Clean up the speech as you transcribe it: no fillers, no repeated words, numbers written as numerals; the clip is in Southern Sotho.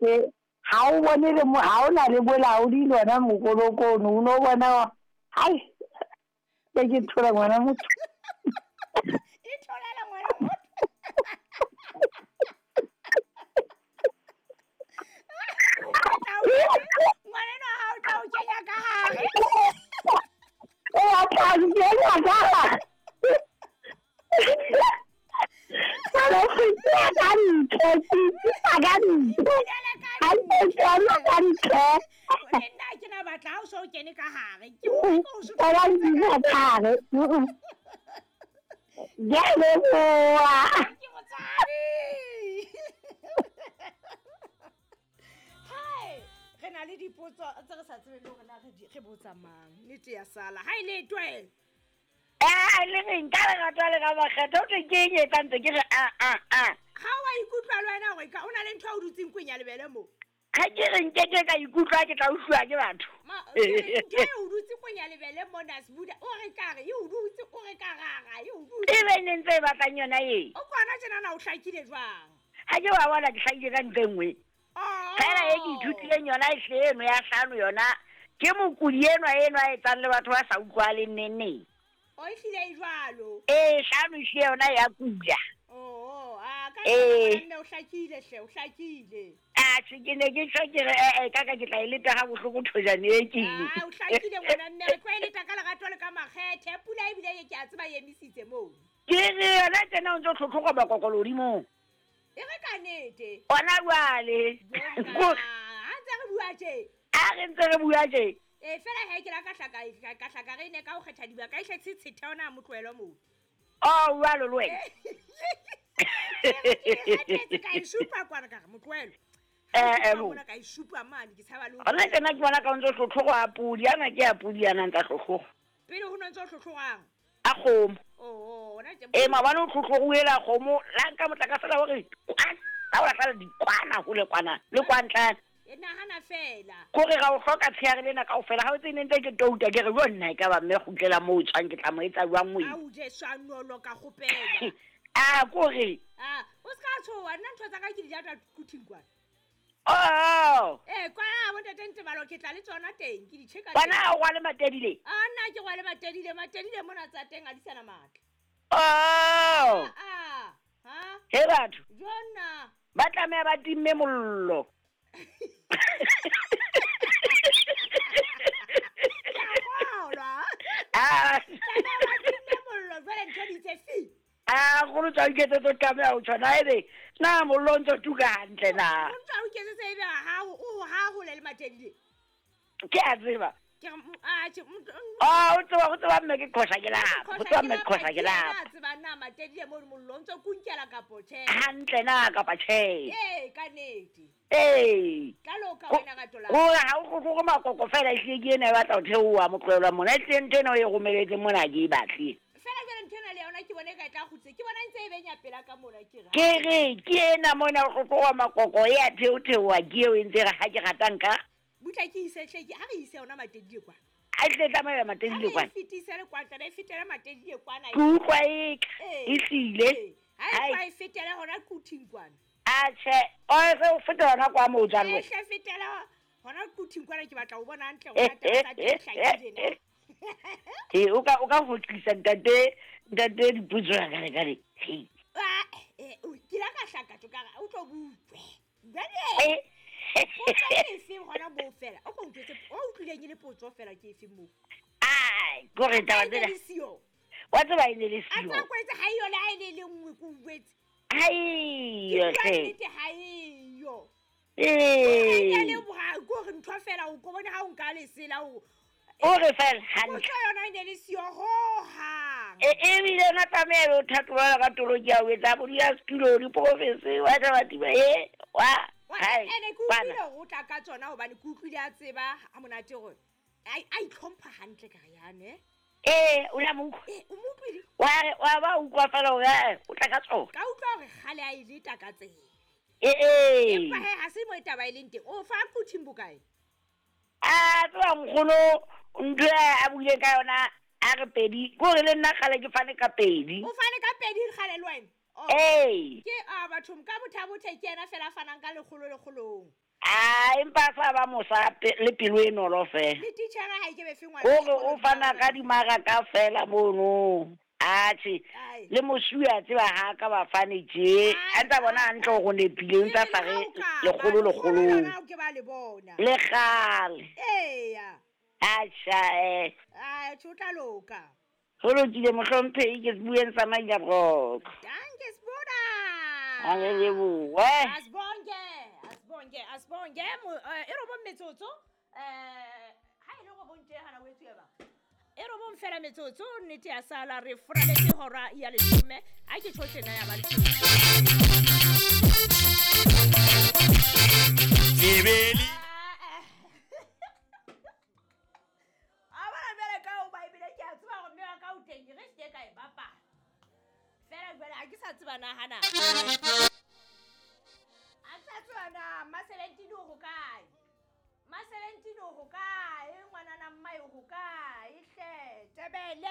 ntle ga o bone le mo ga o na le bolaodi le ona mokoloko ono o no bona hai ke ke thola ngwana motho. E tholela ngwana motho. Ngwaneno ha o tla o kenya ka hare. O a tla nkenya ka hare. Ka ka ntle, ka ntle. Ha ke tsena ka ntle. Le nna ke na batla ha o so o kene ka hare. Ke o so ka ka hare. Ke a leboha. Ke motswadi. Hai, re na le dipotso tse re sa tsebeng le hore na re botsa mang. Nnete ya sala. Ha e le twe. Eh, le reng ka lerato le ka makgetho o thwe ke eng e etsang ntse ke re a a a. Ha wa ikutlwa le wena hore ka o na le ntho a o dutseng kweng ya lebele mo. Ha ke re nkeke ka ikutlwa ke tla utlwa ke batho. Ma, ntho e o dutse kweng ya lebele mona Sbuda, o re ka re e o dutse, o re ka rara e o dutse. E be ne ntse e batlang yona e. O kwana tjena na o hlakile jwang? Ha ke wa bona ke hlakile ka ntho e nngwe. Fela e ke ithutileng yona e hle eno ya hlano yona ke mokudi enwa enwa a etsang le batho ba sa utlwahaleng neng neng. O ehlile e jwalo. Ee, hlano ehlile yona ya kula. Oh, a ka ee. Nne o hlakile hle, o hlakile. Atjhe, ke ne ke tjho ke re ee ka ka ke tla e leta ha bohloko thojane e ke. Ah, o hlakile ngwana mme re tlo e leta ka lerato le ka makgethe. Pula ebile e ke a tseba e emisitse moo. Ke re yona tjena o ntso tlhotlhoga makokolo hodimong. E re ka nete. Ona jwale. Ha ntse re bua tje. A re ntse re bua tje. E fela he ke la ka hlaka ka hlaka re ne ka ho kgetha dibaka e hle tshethe ona motlohelo moo. Oh, jwalo le wena. Ke ka e supa kwana ka re motlohelo. Eh, mona ka e supa mane ke tshaba le. Ona tjena ke bona ka o ntso tlhotlhogo a podi, ana ke a podi ana ntsa tlhotlhogo. Pele ho no ntso tlhotlhogang. A kgomo. Oh, ona tje. E mabane o tlhotlhogo ela kgomo la nka motlakase la hore kwana, la o lahlela dikwana hole kwana le kwantlana. E nahana fela. Kore ga o hloka tsheare lena kaofela ha o tsene ntse ke touta ke re yo nna e ka ba mme kgutlela moo o tswang ke tla mo etsa jwang moe. A o je swanolo ka kgopela. A kore. A o ska tshoha nna ntho tsa ka ke di jata kuthing kwana. Oh. Eh kwa bo ntate Ntebalo ke tla le tsona teng ke di cheka. Bana o rwale matedile. A nna ke rwale matedile, matedile mona tsa teng a di sana matla. Oh. Ah. Ha? He batho. Jona. Ba tlameha ba timme mollo. Ah. Tlameha ba timme mollo jwale ntho di tse fi. Ah, go tsa iketsetsa tlameha ho tshwana ebe na mollo o ntso tuka hantle na. O ntso o iketsetsa ebe ha o ha hole le matedile. Ke a tseba. Ke a tjhe. Ah, o tseba mme ke qosha ke lapa. O tseba mme ke qosha ke lapa. Ke tseba na matedile mo mollo o ntso kunkela kapo tjhe. Hantle na kapa tjhe. Ee, ka nnete. Ee. Ka loka wena ka tola. Hore ha o go makoko fela ehlile ke ena e batla ho theoha motlohelo mona. Ehlile ntho ena o e romeletse mona ke e batle. Fela jwale ntho ena le yona ke bone e ka e tla kgutse. Ke bona ntse e benya pela ka mona ke re. Ke re ke ena mona o tloha makoko e a theotheoha ke eo e ntse re ha ke ratang ka. Butla ke ise hle ke ha re ise yona matedile kwana. A tle tsamaya matedile kwana. Ha re fetise le kwana, tla e fetela matedile kwana. Ke utlwa e e hlile. Ha e fetela hona kuthing kwana. A tjhe, o se o fetela hona kwa moo jwang. E hle fetela hona kuthing kwana ke batla ho bona hantle hore taba tsa teng hlakile na. He o ka ho tlisa ntate dipotso ya ka le ka le. He. Ah, ke la ka hlaka tjo ka o tlo butswe. Jwale. Potso ke efe hona moo fela? O ko ntjwetse, o utlwileng e le potso fela ke efe moo? Ai, kore taba tsena. Wa tseba e ne le siyo. A tsa kwetse ha eyo le ha e le le nngwe ke utlwetse. Ha eyo hle. Nnete ha eyo. Ee. Ke a leboha kore ntho fela o ko bone ha o nka lesela o. O re fela hantle. Potso yona e ne le siyo hohang. E ebile yona tlameha o thatola ka toloki ya ho etsa bo di ya setulo diporofense wa tla ba tiba e wa. Ene ke utlwile hore o tla ka tsona hobane ke utlwile a tseba ha monate hore a itlhompha hantle ka re yane. Ee, o la mo utlwa. Ee, o mo utlwile. Wa re wa ba utlwa fela hore o tla ka tsona. Ka utlwa hore kgale a e leta ka tsela. Ee. Empa he ha se mo taba e leng teng. O fa kuthing bokae? A tseba nkgono ntho a buile ka yona a re pedi. Ke hore le nna kgale ke fane ka pedi. O fane ka pedi kgale le wena? Ee. Ke a batho ka bothabothe ke yena fela a fanang ka lekgolo lekgolong. A empa a sa ba mosa le pelo e nolo fela. Le titjhere ha e ke be fe ngwana Kore sekolo o fana ka dimaraka fela mono. Atjhe, Ai. le mosuwe a tseba ha ka ba fane tje. Ai, A ntsa bona ai, hantle hore o nepile, o ntsa Ke sa re re le ha o ka ba, lekgolo lekgolo lekgolong. lona o ke ba le bona. Le kgale. Eya. Atjha eh. Ai, tjho o tla loka. Ho lokile mohlomphehi ke bueng sa Maila Brok. Danke Sbuda. A re lebohe. Asibonge, asibonge, asibonge. E robong metsotso. Ha e le robong tje hana o etsuwe ba. E robong fela metsotso nnete ya sala re foraletse hora ya leshome. Ha ke tjho tjena ya ba leshome. Tsebeli. A bona jwale ka hoba ebile ke a tseba hore mme wa ka o teng, ke re se ke ka e bapala. Feela jwale ha ke sa tseba na hana. Ha ke sa tseba na Ma-17 o hokae? Ma-17 o hokae? Ngwanana mmae o hokae?